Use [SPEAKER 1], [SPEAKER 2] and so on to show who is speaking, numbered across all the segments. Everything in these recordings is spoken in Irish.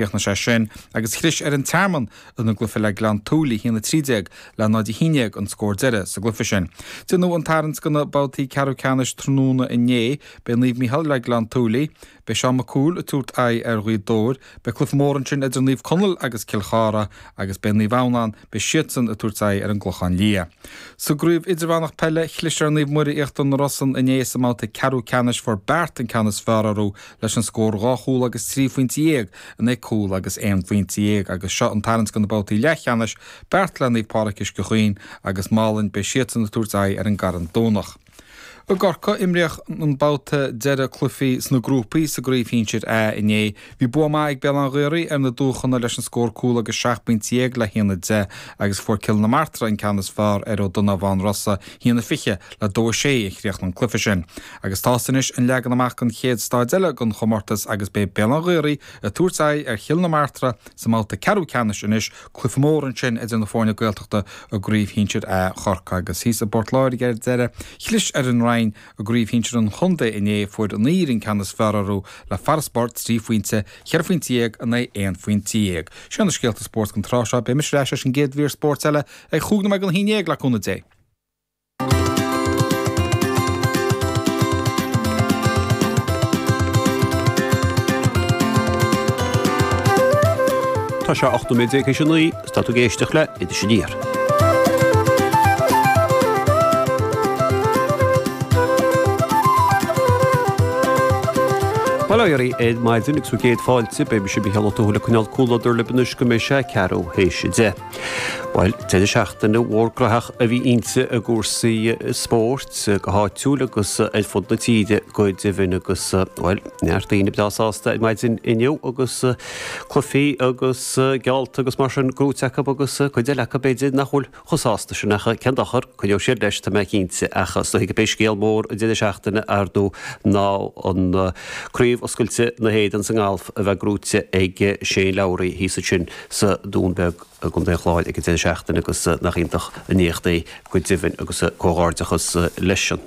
[SPEAKER 1] Chríochnaigh sé sin agus chlis ar an Tearmann ina gcluiche le Gleann tSúilí, 1-13 le 0-11 an scór deiridh sa gcluiche sin. Déanadh an tarraingt do na babhtaí ceathrú ceannais tráthnóna inné. Beidh Naomh Mícheál le Gleann tSúilí. Beidh Seán Mac Cumhaill ag tabhairt aghaidh ar Ghaoth Dobhair. Beidh cluiche mór ansin idir Naomh Conaill agus Cill Chartha agus beidh Naomh Adhamhnáin, beidh siadsan ag tabhairt aghaidh ar an gClochán Liath. Sa gcraobh idirmheánach peile, chlis ar Naomh Muire Íochtar na Rosann inné sa mbabhta ceathrú ceannais. Fuair Beart an ceann is fearr orthu leis an scór 2 chúl agus 13 phointe in aghaidh cúl agus 11 phointe agus seo an tarraingt do na babhtaí leathcheannais, Beart le Naomh Pádraig Uisce Chaoin agus Málainn, beidh siadsan ag tabhairt aghaidh ar an gCarn Domhnach. I gCorcaigh, imríodh an babhta deiridh cluichí sna grúpaí sa gCraobh Shinsir A inné. Bhí bua maith ag Béal Átha an Ghaorthaidh ar na Dúchonaidh leis an scór cúl agus 17 bpointe le 1-10 agus fuair Cill na Martra an ceann is fearr ar Ó Donnabháin Rosa, 1-20 le 2-6 a chríochnaigh an cluiche sin. Agus tá's anois an leagan amach don chéad staid eile den chomórtas agus beidh Béal Átha an Ghaorthaidh ag tabhairt aghaidh ar Chill na Martra sa mbabhta ceathrú ceannais anois, cluiche mór ansin idir na foirne Gaeltachta i gCraobh Shinsir A Chorcaí. Agus thíos i bPort Láirge ar deireadh, chlis ar an Rinn i gCraobh Shinsir an Chontae inné, fuair an Aoir an ceann is fearr orthu le farasbarr 3 phointe, 14 phointe in aghaidh 11 phointe. Sin na scéalta spóirt don tráth seo. Beidh mise ar ais leis an gcéad mhír spóirt eile ag chúig nóiméad don haon dhéag le cúnamh Dé.
[SPEAKER 2] Tá sé 18 nóiméad théis a 9 is tá tú ag éisteacht le Iris Aniar. Bail ó Dhia oraibh ar maidin agus bhur gcéad fáilte, beidh mise Mícheál Ó Tuathail ag coinneáil comhluadar libh anois go mbeidh sé ceathrú théis a 10. Bhuel, deireadh seachtaine mhór graitheach a bhí inti i gcúrsaí spóirt, go háitiúil agus ar fud na tíre go deimhin agus, bhuel, neart daoine breá sásta ar maidin inniu agus cluichí agus geallta agus mar sin gnóite acu agus cuid eile acu b'fhéidir nach bhfuil chomh sásta sin ach cén dochar, coinneoidh siad leis, tá mé cinnte. Ach is dóigh gurb é scéal mór an deireadh seachtaine, ar ndóigh, ná an Craobh Oscailte na hÉireann sa ngalf a bheith gnóite ag Shane Lowry thíos ansin sa Dún Beag i gContae an Chláir ag an deireadh seachtaine agus nach iontach an éacht é go deimhin agus comhghairdeachas leisean.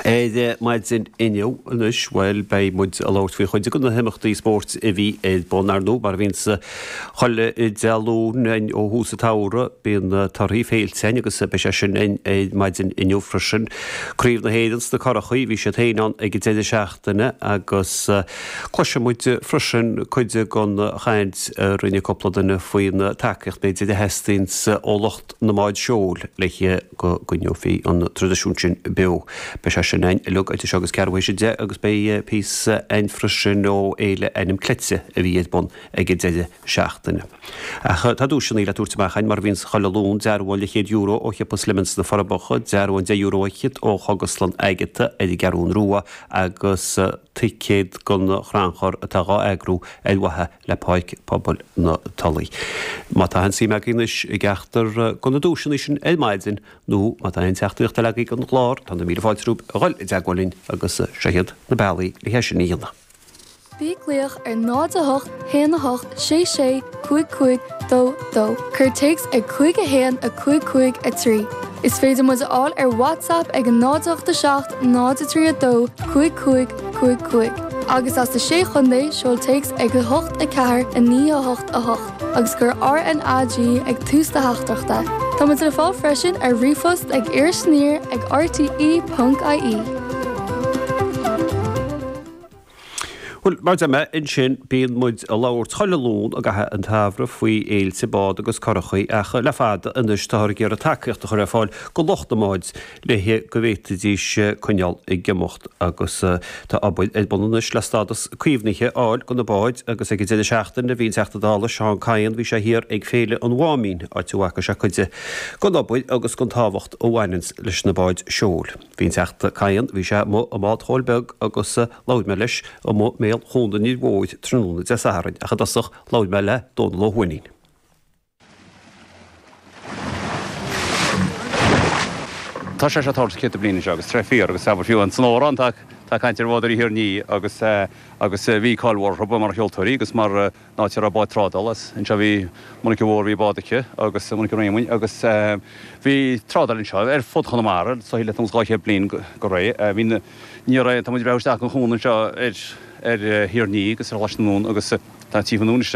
[SPEAKER 2] Ar maidin inniu anois, bhuel, beidh muid ag labhairt faoi chuid de na himeachtaí spóirt a bhí ar bun, ar ndóigh, mar a bhíonns chuile Dé Luain ó thús an tsamhraidh, bíonn torthaí féilte againn agus beidh sé sin againn ar maidin inniu freisin. Craobh na hÉireann sna Curachaí, bhí siad féin ann ag an deireadh seachtaine agus cloisfidh muid freisin cuid den chaint a rinne cúpla duine faoin tacaíocht, b'fhéidir, a theastaíonns ó lucht na mbád seoil le go gcoinneofaí an traidisiún sin beo. Beidh sé sin againn uilig idir seo agus ceathrú théis a 10 agus beidh píosa againn freisin ó Fhéile Ainm Cleite a bhí ar bun ag an deireadh seachtaine. Ach tá duaiseanna le tabhairt amach againn mar a bhíonns chuile Luan, dearbhán leathchéad euro ó shiopa Slimmins sna Forbacha, dearbhán €10 fhichead ó Chógaslann Agatha ar an gCeathrún Rua agus ticéad don chrannchur atá dhá eagrú ar mhaithe le Páirc Pobail na Tulaí. Má tá aon suim agaibh anois i gceachtar de na duaiseanna sin ar maidin nó má tá aon teachtaireacht eile agaibh don chlár, tá na míle fáilte romhaibh a dhul i dteagmháil linn agus seo iad na bealaí le hé sin a dhéanamh.
[SPEAKER 3] Bí ag glaoch ar 0 8 1 8 6 6 5 5 2 2. Cuir téacs ag 5 1 5 5 3. Is féidir muid a fháil ar WhatsApp ag 0 8 7 0 3 2 5 5 5 5. Agus as na Sé Chontae, seol téacs ag 8 4 9 8 8 agus cuir RNAG ag tús do theachtaireachta. Tá muid le fáil freisin ar ríomhphost ag irisaniar ag rte ponc ie.
[SPEAKER 2] Bhuel, mar a deir mé ansin, bíonn muid ag labhairt chuile Luan i gcaitheamh an tsamhraidh faoi fhéilte bád agus curachaí ach le fada anois táthar ag iarraidh tacaíocht a chur ar fáil go lucht na mbád le go bhféadfaidís coinneáil ag imeacht agus tá obair ar bun anois le stádas caomhnaithe a fháil do na báid agus ag an deireadh seachtaine bhí an Teachta Dála Seán Kyne, bhí sé thiar ag Féile an Mháimín, áit a bhfaca sé cuid den obair agus den tábhacht a bhaineanns leis na báid seoil. Bhí an Teachta Kyne, bhí sé amuigh i mbád Chóil Beag agus labhair mé leis amuigh i mbéal Chuan an Fhir Mhóir tráthnóna Dé Sathairn ach i dtosach labhair mé le Dónal Ó hUaithnín.
[SPEAKER 4] Tá sé seo ag tarlú céadta bliain anseo agus tá sé fíor agus abair fiú san amhrán tá tá caint ar bhádóirí Thír an Fhia agus agus bhí cáil mhór orthu mar sheoltóirí agus mar an áit a raibh báid trádála as. Anseo bhí Monica Mhór bhí bád aici agus Monica Réamoinn agus bhí trádáil anseo ar fud Chonamara so le 200 bliain go réidh. Bhí na ní raibh tá muid ag breathnú isteach an chuan anseo ar ar Thír an Fhia agus ar Choláiste na nDún agus. Tá tchífinn anois.